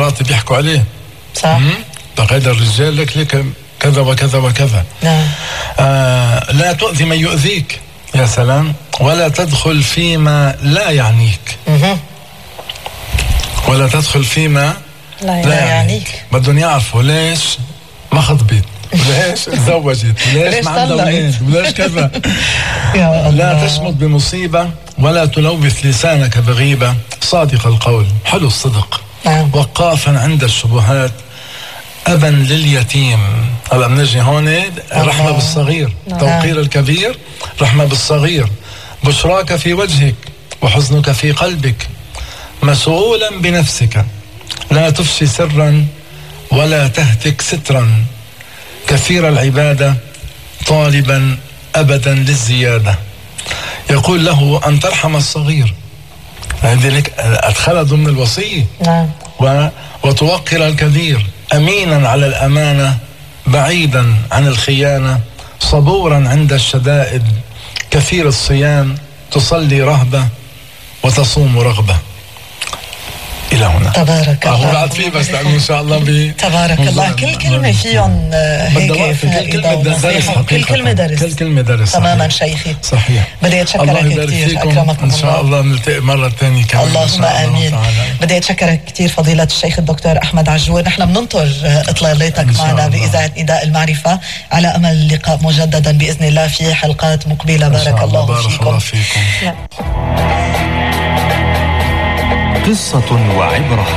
مراتي بيحكوا عليه. صح. طيب هذا الرجال لك كذا وكذا وكذا. نعم. لا تؤذي من يؤذيك. يا سلام. ولا تدخل فيما لا يعنيك. ولا تدخل فيما لا يعنيك. بدهم يعرفوا ليش ما خطبت، ليش تزوجت، ليش ما عندها ولاد، وليش كذا. لا تشمت بمصيبة ولا تلوث لسانك بغيبة. صادق القول، حلو الصدق. وقافا عند الشبهات، أبا لليتيم. هلا بنجي هون رحمة بالصغير، توقير الكبير، رحمة بالصغير. بشراك في وجهك وحزنك في قلبك. مسؤولا بنفسك، لا تفشي سرا ولا تهتك سترا. كثير العبادة طالبا أبدا للزيادة. يقول له أن ترحم الصغير، لذلك أدخل ضمن الوصية. وتوقر الكبير. أمينا على الأمانة، بعيدا عن الخيانة. صبورا عند الشدائد. كثير الصيام، تصلي رهبة وتصوم رغبة. إلى هنا. تبارك الله. بعد فيه بس لأنه إن شاء الله تبارك الله. كل كلمة فيهم هيك فائدة ونصيحة. كل كلمة درس. كل كلمة درس. تماما شيخي. صحيح. بدي أتشكرك كثير. أكرمكم إن شاء الله نلتقي مرة ثانية كمان. اللهم آمين. بدي أتشكرك كثير فضيلة الشيخ الدكتور أحمد عجور. نحن بننطر إطلالتك معنا بإذاعة نداء المعرفة، على أمل اللقاء مجددا بإذن الله في حلقات مقبلة. بارك الله فيكم. قصة وعبرة.